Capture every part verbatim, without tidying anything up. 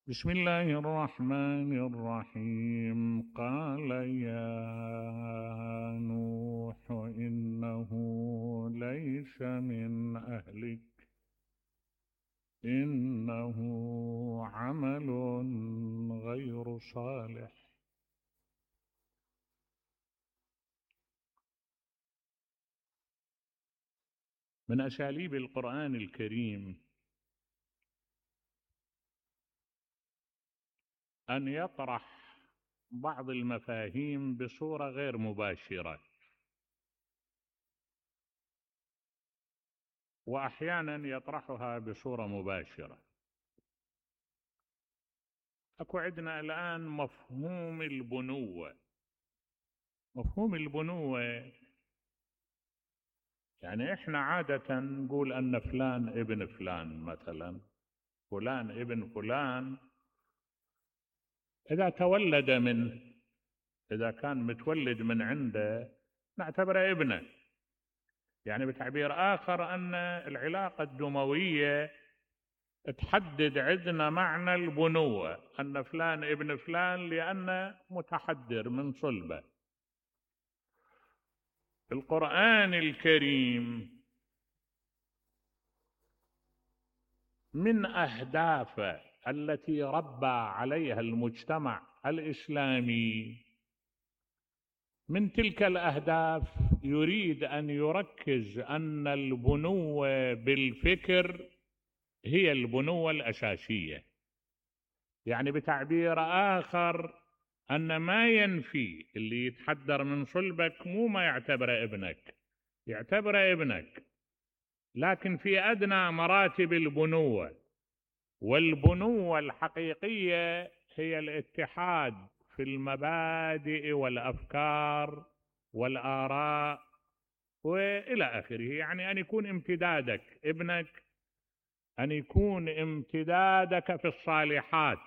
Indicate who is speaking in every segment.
Speaker 1: بسم الله الرحمن الرحيم. قال يا نوح إنه ليس من أهلك إنه عمل غير صالح. من أساليب القرآن الكريم أن يطرح بعض المفاهيم بصورة غير مباشرة، وأحيانا يطرحها بصورة مباشرة. أكو عندنا الآن مفهوم البنوة. مفهوم البنوة يعني إحنا عادة نقول أن فلان ابن فلان، مثلا فلان ابن فلان إذا تولد منه، إذا كان متولد من عنده نعتبره ابنه. يعني بتعبير آخر أن العلاقة الدموية تحدد عندنا معنى البنوة، أن فلان ابن فلان لأنه متحدر من صلبه. القرآن الكريم من أهدافه التي ربى عليها المجتمع الإسلامي، من تلك الأهداف يريد أن يركز أن البنوة بالفكر هي البنوة الأساسية. يعني بتعبير آخر أن ما ينفي اللي يتحدر من صلبك مو ما يعتبره ابنك، يعتبره ابنك، لكن في أدنى مراتب البنوة. والبنوة الحقيقية هي الاتحاد في المبادئ والأفكار والآراء وإلى آخره. يعني أن يكون امتدادك ابنك، أن يكون امتدادك في الصالحات،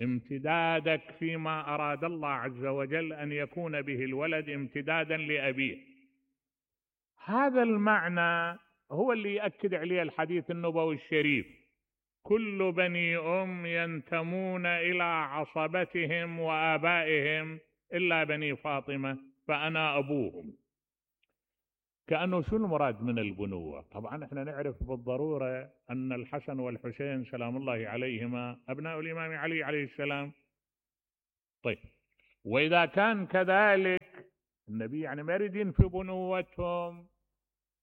Speaker 1: امتدادك فيما أراد الله عز وجل أن يكون به الولد امتدادا لأبيه. هذا المعنى هو اللي يأكد عليه الحديث النبوي الشريف: كل بني أم ينتمون إلى عصبتهم وآبائهم إلا بني فاطمة فأنا أبوهم. كأنه شو المراد من البنوة؟ طبعا احنا نعرف بالضرورة أن الحسن والحسين سلام الله عليهما أبناء الإمام علي عليه السلام. طيب، وإذا كان كذلك النبي يعني ما يريد ينفي بنوتهم،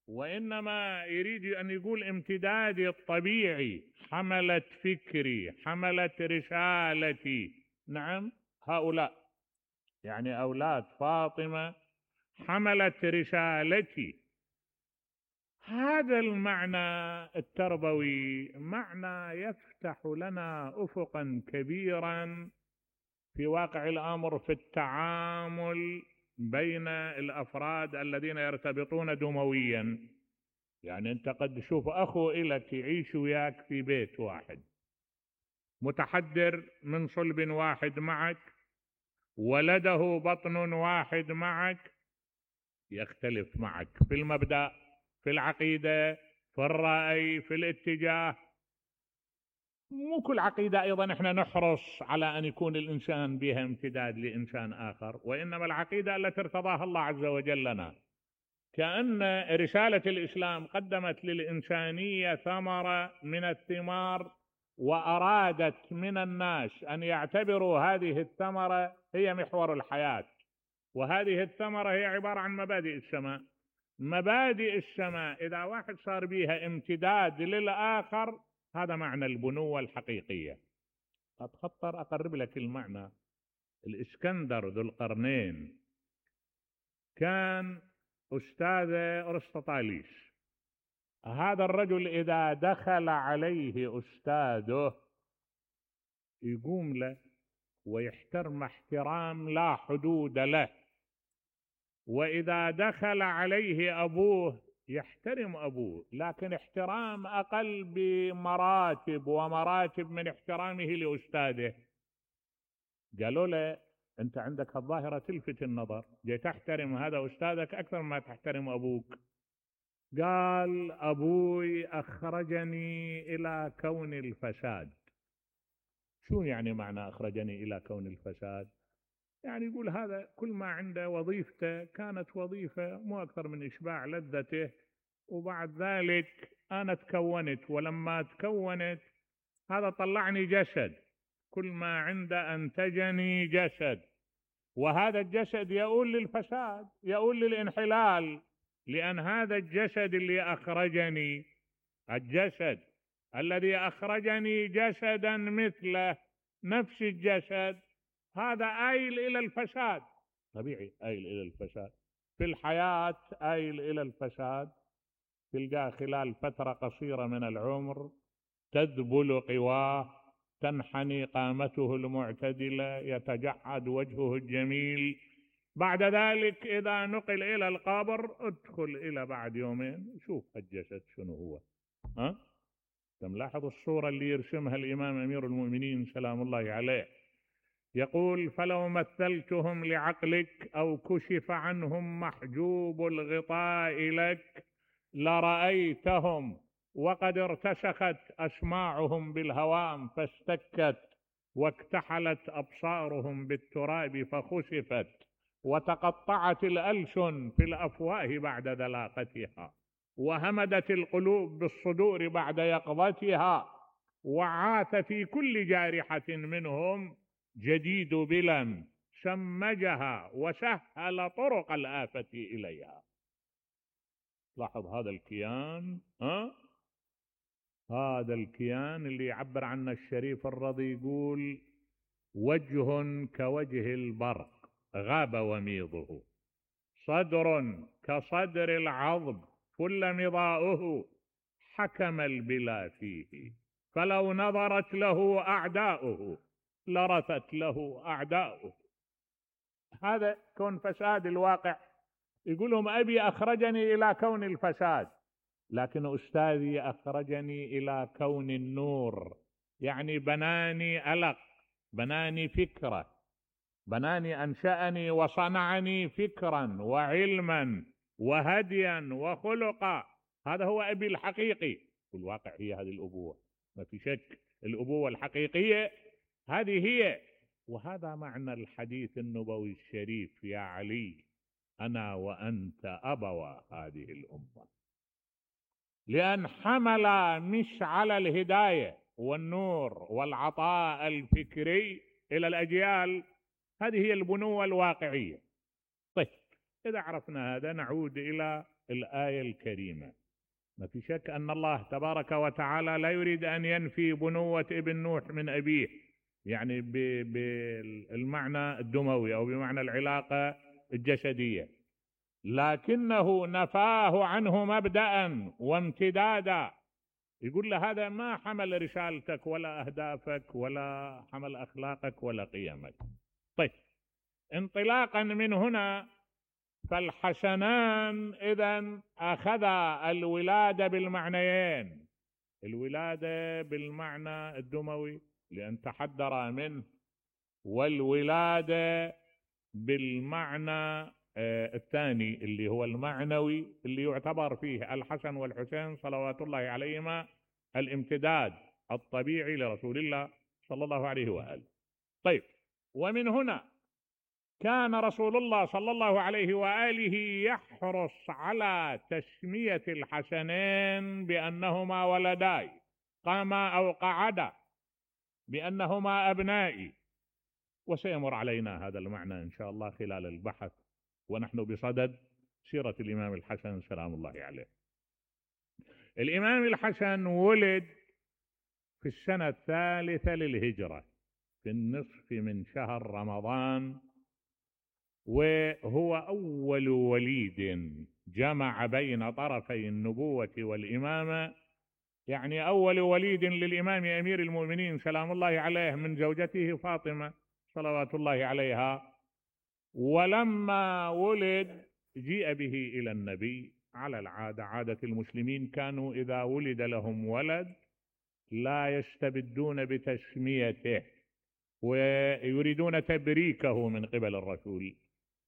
Speaker 1: وإنما يريد أن يقول امتدادي الطبيعي، حملة فكري، حملة رسالتي. نعم، هؤلاء يعني أولاد فاطمة حملة رسالتي. هذا المعنى التربوي معنى يفتح لنا أفقا كبيرا في واقع الأمر في التعامل بين الأفراد الذين يرتبطون دمويا. يعني أنت قد تشوف أخو إلك يعيش وياك في بيت واحد، متحدر من صلب واحد معك، ولده بطن واحد معك، يختلف معك في المبدأ، في العقيدة، في الرأي، في الاتجاه. مو كل عقيدة أيضا احنا نحرص على أن يكون الإنسان بها امتداد لإنسان آخر، وإنما العقيدة التي ارتضاها الله عز وجل لنا. كأن رسالة الإسلام قدمت للإنسانية ثمرة من الثمار، وأرادت من الناس أن يعتبروا هذه الثمرة هي محور الحياة. وهذه الثمرة هي عبارة عن مبادئ السماء. مبادئ السماء إذا واحد صار بيها امتداد للآخر، هذا معنى البنوة الحقيقية. قد خطر أقرب لك المعنى. الإسكندر ذو القرنين كان أستاذ أرسطاطاليس. هذا الرجل إذا دخل عليه أستاذه يقوم له ويحترم احترام لا حدود له، وإذا دخل عليه أبوه يحترم أبوه، لكن احترام أقل بمراتب ومراتب من احترامه لأستاذه. قالوا له: أنت عندك الظاهرة تلفت النظر، جاي تحترم هذا أستاذك أكثر ما تحترم أبوك. قال: أبوي أخرجني إلى كون الفساد، شو يعني معنى أخرجني إلى كون الفساد؟ يعني يقول هذا كل ما عنده وظيفته كانت وظيفة مو أكثر من إشباع لذته، وبعد ذلك أنا تكونت، ولما تكونت هذا طلعني جسد، كل ما عنده أنتجني جسد، وهذا الجسد يؤول للفساد، يؤول للانحلال، لأن هذا الجسد اللي أخرجني، الجسد الذي أخرجني جسدا مثله نفس الجسد، هذا آيل إلى الفساد، طبيعي آيل إلى الفساد في الحياة، آيل إلى الفساد. تلقاه خلال فترة قصيرة من العمر تذبل قواه، تنحني قامته المعتدلة، يتجعد وجهه الجميل. بعد ذلك إذا نقل إلى القبر ادخل إلى بعد يومين شوف الجسد شنو هو. ها؟ تملاحظ الصورة اللي يرسمها الإمام أمير المؤمنين سلام الله عليه، يقول: فلو مثلتهم لعقلك أو كشف عنهم محجوب الغطاء لك لرأيتهم وقد ارتسخت أسماعهم بالهوام فاستكت، واكتحلت أبصارهم بالتراب فخسفت، وتقطعت الألسن في الأفواه بعد ذلاقتها، وهمدت القلوب بالصدور بعد يقظتها، وعاث في كل جارحة منهم جديد بلا شمجها وسهل طرق الآفة إليها. لاحظ هذا الكيان، ها؟ هذا الكيان اللي يعبر عنه الشريف الرضي، يقول: وجه كوجه البرق غاب وميضه، صدر كصدر العظم كل مضاؤه، حكم البلا فيه فلو نظرت له أعداؤه لرثت له أعداؤه. هذا كون فساد الواقع. يقولهم أبي أخرجني إلى كون الفساد، لكن أستاذي أخرجني إلى كون النور، يعني بناني ألق، بناني فكرة، بناني أنشأني وصنعني فكرا وعلما وهديا وخلقا. هذا هو أبي الحقيقي. والواقع هي هذه الأبوة، ما في شك، الأبوة الحقيقية هذه هي. وهذا معنى الحديث النبوي الشريف: يا علي أنا وأنت أبوا هذه الأمة، لأن حمل مشعل الهداية والنور والعطاء الفكري إلى الأجيال. هذه هي البنوة الواقعية. طيب، إذا عرفنا هذا نعود إلى الآية الكريمة. ما في شك أن الله تبارك وتعالى لا يريد أن ينفي بنوة ابن نوح من أبيه، يعني بالمعنى الدموي أو بمعنى العلاقة الجسدية، لكنه نفاه عنه مبدأ وامتدادا. يقول له هذا ما حمل رسالتك ولا أهدافك ولا حمل أخلاقك ولا قيمك. طيب، انطلاقا من هنا فالحسنان إذن أخذا الولادة بالمعنيين: الولادة بالمعنى الدموي لأن تحدر منه، والولادة بالمعنى الثاني اللي هو المعنوي، اللي يعتبر فيه الحسن والحسين صلوات الله عليهما الامتداد الطبيعي لرسول الله صلى الله عليه وآله. طيب، ومن هنا كان رسول الله صلى الله عليه وآله يحرص على تسمية الحسنين بأنهما ولداي، قاما أو قعدا بأنهما أبنائي. وسيمر علينا هذا المعنى إن شاء الله خلال البحث ونحن بصدد سيرة الإمام الحسن سلام الله عليه. الإمام الحسن ولد في السنة الثالثة للهجرة في النصف من شهر رمضان، وهو أول وليد جمع بين طرفي النبوة والإمامة، يعني أول وليد للإمام أمير المؤمنين سلام الله عليه من زوجته فاطمة صلوات الله عليها. ولما ولد جيء به إلى النبي. على العادة، عادة المسلمين كانوا إذا ولد لهم ولد لا يستبدون بتسميته ويريدون تبريكه من قبل الرسول.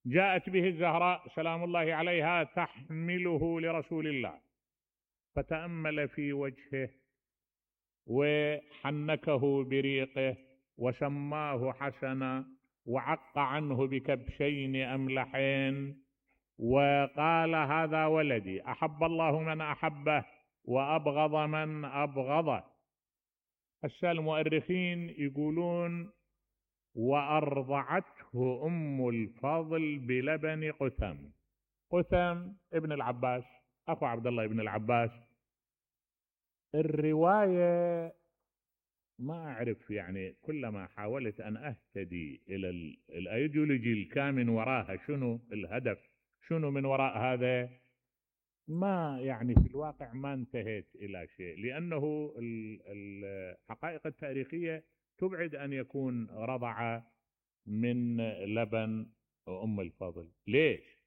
Speaker 1: جاءت به الزهراء سلام الله عليها تحمله لرسول الله، فتأمل في وجهه وحنكه بريقه وسماه حسنا وعق عنه بكبشين أملحين وقال هذا ولدي، أحب الله من أحبه وأبغض من أبغضه. هسه المؤرخين يقولون وأرضعته أم الفضل بلبن قثم. قثم ابن العباس أخو عبد الله ابن العباس. الرواية ما أعرف، يعني كلما حاولت أن أهتدي إلى الأيديولوجي الكامن وراها، شنو الهدف، شنو من وراء هذا، ما يعني في الواقع ما انتهيت إلى شيء، لأنه الحقائق التاريخية تبعد أن يكون رضع من لبن أم الفضل. ليش؟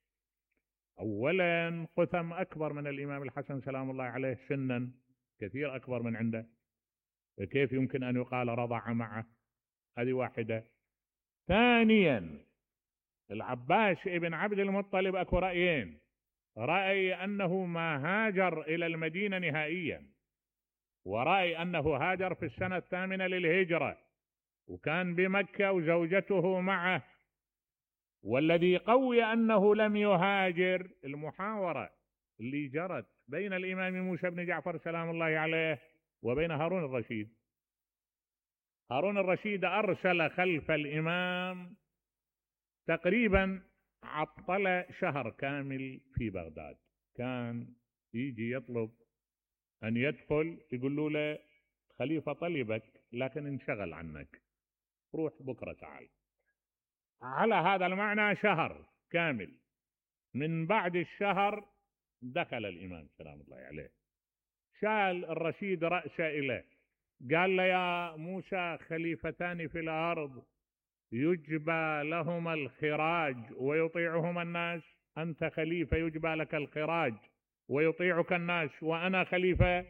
Speaker 1: أولا قثم أكبر من الإمام الحسن سلام الله عليه سنا، كثير أكبر من عنده، كيف يمكن أن يقال رضع معه؟ هذه واحدة. ثانيا العباس ابن عبد المطلب أكو رأيين، رأي أنه ما هاجر إلى المدينة نهائيا، ورأي أنه هاجر في السنة الثامنة للهجرة وكان بمكة وزوجته معه. والذي قوي أنه لم يهاجر المحاورة اللي جرت بين الإمام موسى بن جعفر سلام الله عليه وبين هارون الرشيد. هارون الرشيد أرسل خلف الإمام تقريبا، عطل شهر كامل في بغداد، كان يجي يطلب أن يدخل يقولوا له خليفة طلبك لكن انشغل عنك، روح بكرة تعال. على هذا المعنى شهر كامل. من بعد الشهر دخل الإمام سلام الله عليه، شال الرشيد رأسه إليه، قال له يا موسى خليفتان في الأرض يجبى لهما الخراج ويطيعهما الناس، أنت خليفة يجبى لك الخراج ويطيعك الناس وأنا خليفة.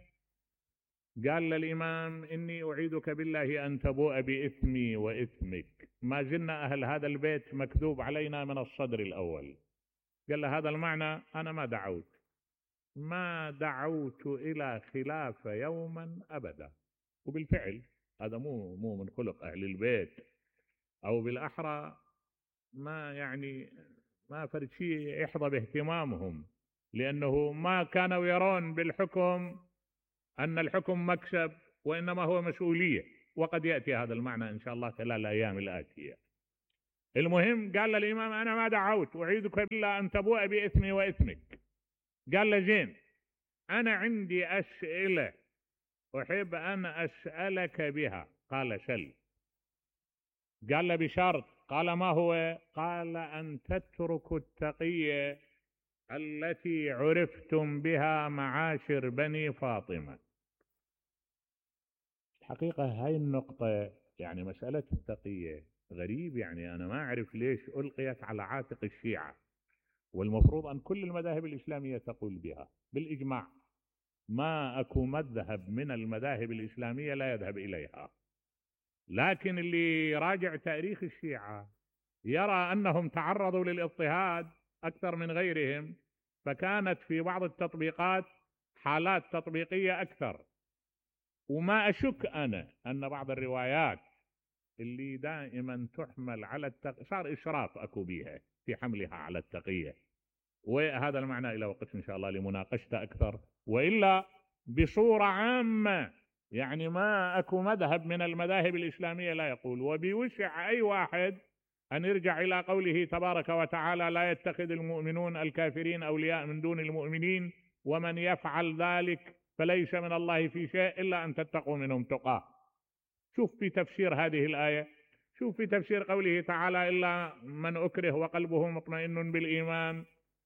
Speaker 1: قال للإمام إني أعيدك بالله أن تبوء بإثمي وإثمك، ما زلنا أهل هذا البيت مكذوب علينا من الصدر الأول. قال له هذا المعنى أنا ما دعوت ما دعوت إلى خلافة يوما أبدا. وبالفعل هذا مو مو من خلق أهل البيت، أو بالأحرى ما يعني ما فرد شيء يحظى باهتمامهم، لأنه ما كانوا يرون بالحكم أن الحكم مكسب وإنما هو مسؤولية، وقد يأتي هذا المعنى إن شاء الله خلال الأيام الآتية. المهم قال للإمام أنا ما دعوت، أعيدك بالله أن تبوء بإثمي وإثمك. قال له زين، أنا عندي أسئلة أحب أن أسألك بها. قال سل. قال له بشرط. قال ما هو؟ قال أن تتركوا التقية التي عرفتم بها معاشر بني فاطمة. الحقيقة هاي النقطة، يعني مسألة التقية غريب، يعني أنا ما أعرف ليش ألقيت على عاتق الشيعة، والمفروض أن كل المذاهب الإسلامية تقول بها بالإجماع. ما أكو مذهب من المذاهب الإسلامية لا يذهب إليها، لكن اللي راجع تاريخ الشيعة يرى أنهم تعرضوا للاضطهاد أكثر من غيرهم، فكانت في بعض التطبيقات حالات تطبيقية أكثر. وما أشك أنا أن بعض الروايات اللي دائما تحمل على التقية صار إشراف أكو بيها في حملها على التقية، وهذا المعنى إلى وقت إن شاء الله لمناقشته أكثر. وإلا بصورة عامة يعني ما أكو مذهب من المذاهب الإسلامية لا يقول، وبوسع أي واحد أن يرجع إلى قوله تبارك وتعالى لا يتخذ المؤمنون الكافرين أولياء من دون المؤمنين ومن يفعل ذلك فليس من الله في شيء إلا أن تتقوا منهم تقاه. شوف في تفسير هذه الآية، شوف في تفسير قوله تعالى إلا من أكره وقلبه مطمئن بالإيمان.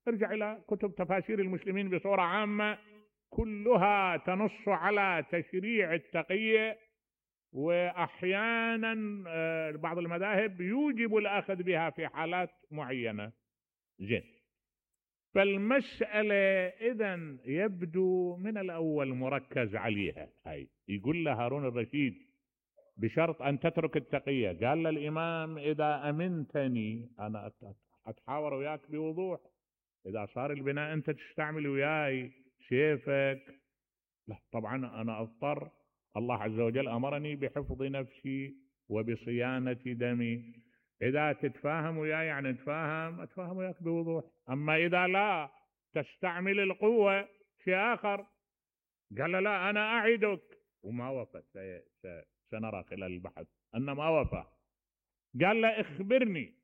Speaker 1: ارجع إلى كتب تفاسير المسلمين بصورة عامة كلها تنص على تشريع التقية، وأحيانا بعض المذاهب يوجب الأخذ بها في حالات معينة. زين، فالمسألة إذن يبدو من الأول مركز عليها. هاي يقول له هارون الرشيد بشرط أن تترك التقية. قال للإمام إذا أمنتني أنا أتحاور وياك بوضوح، إذا صار البناء أنت تستعمل وياي سيفك، لا طبعا أنا أضطر، الله عز وجل أمرني بحفظ نفسي وبصيانة دمي. إذا تتفاهم وياي يعني نتفاهم، أتفاهم وياك بوضوح. أما إذا لا تستعمل القوة شيء آخر. قال له لا أنا أعدك، وما وفى. سنرى خلال البحث أن ما وفى. قال له اخبرني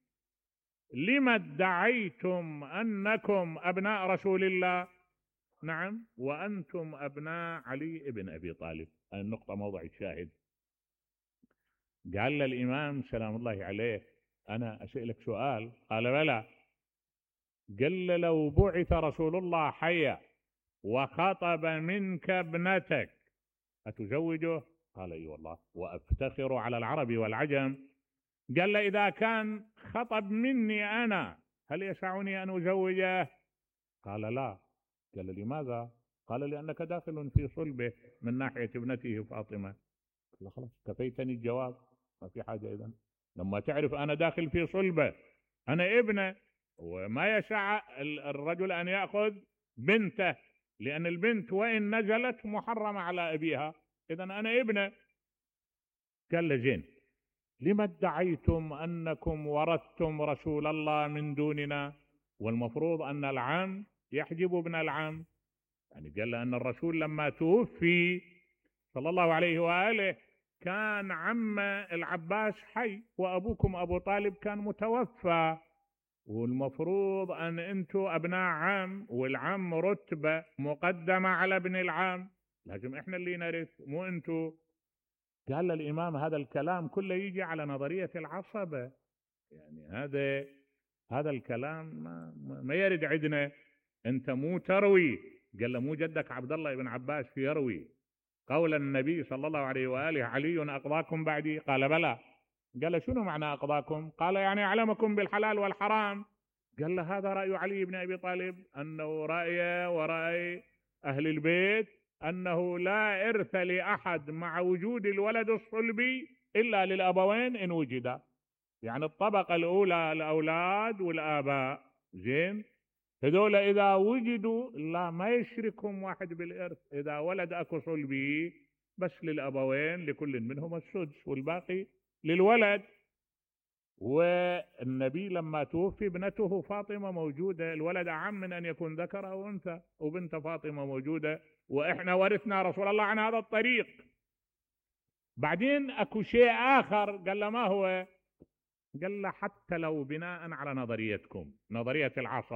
Speaker 1: لم ادعيتم أنكم أبناء رسول الله؟ نعم وأنتم أبناء علي ابن أبي طالب. النقطة موضع الشاهد. قال له الإمام سلام الله عليه أنا أسألك سؤال. قال بلى. قال له لو بعث رسول الله حيا وخطب منك ابنتك أتزوجه؟ قال اي والله وأفتخر على العرب والعجم. قال له إذا كان خطب مني أنا هل يسعني أن أزوجه؟ قال لا. قال لماذا؟ قال لأنك داخل في صلبه من ناحية ابنته فاطمة. قال خلاص كفيتني الجواب، ما في حاجة. إذن لما تعرف أنا داخل في صلبه أنا ابنه، وما يسع الرجل أن يأخذ بنته، لأن البنت وإن نزلت محرمة على أبيها، إذن أنا ابنه. قال له زين لما ادعيتم أنكم ورثتم رسول الله من دوننا؟ والمفروض أن العم يحجب ابن العم. يعني قال له أن الرسول لما توفي صلى الله عليه وآله كان عم العباس حي، وأبوكم أبو طالب كان متوفى، والمفروض أن أنتم أبناء عم، والعم رتبة مقدمة على ابن العم، لازم إحنا اللي نرث مو أنتم. قال الإمام هذا الكلام كله يجي على نظرية العصبة. يعني هذا هذا الكلام ما, ما يرد عندنا. أنت مو تروي. قال له مو جدك عبد الله بن عباس في يروي قول النبي صلى الله عليه وآله علي أقضاكم بعدي؟ قال بلى. قال له شنو معنى أقضاكم؟ قال يعني أعلمكم بالحلال والحرام. قال له هذا رأي علي بن أبي طالب، أنه رأي ورأي أهل البيت أنه لا إرث لأحد مع وجود الولد الصلبي إلا للأبوين إن وجدا. يعني الطبقة الأولى الأولاد والآباء، زين، هذول إذا وجدوا لا ما يشركهم واحد بالإرث. إذا ولد أكو صلبي بس للأبوين لكل منهم السدس والباقي للولد. والنبي لما توفي ابنته فاطمة موجودة، الولد أعم من أن يكون ذكر أو أنثى، وبنت فاطمة موجودة، وإحنا ورثنا رسول الله عن هذا الطريق. بعدين أكو شيء آخر. قال له ما هو؟ قال له حتى لو بناء على نظريتكم نظرية العصر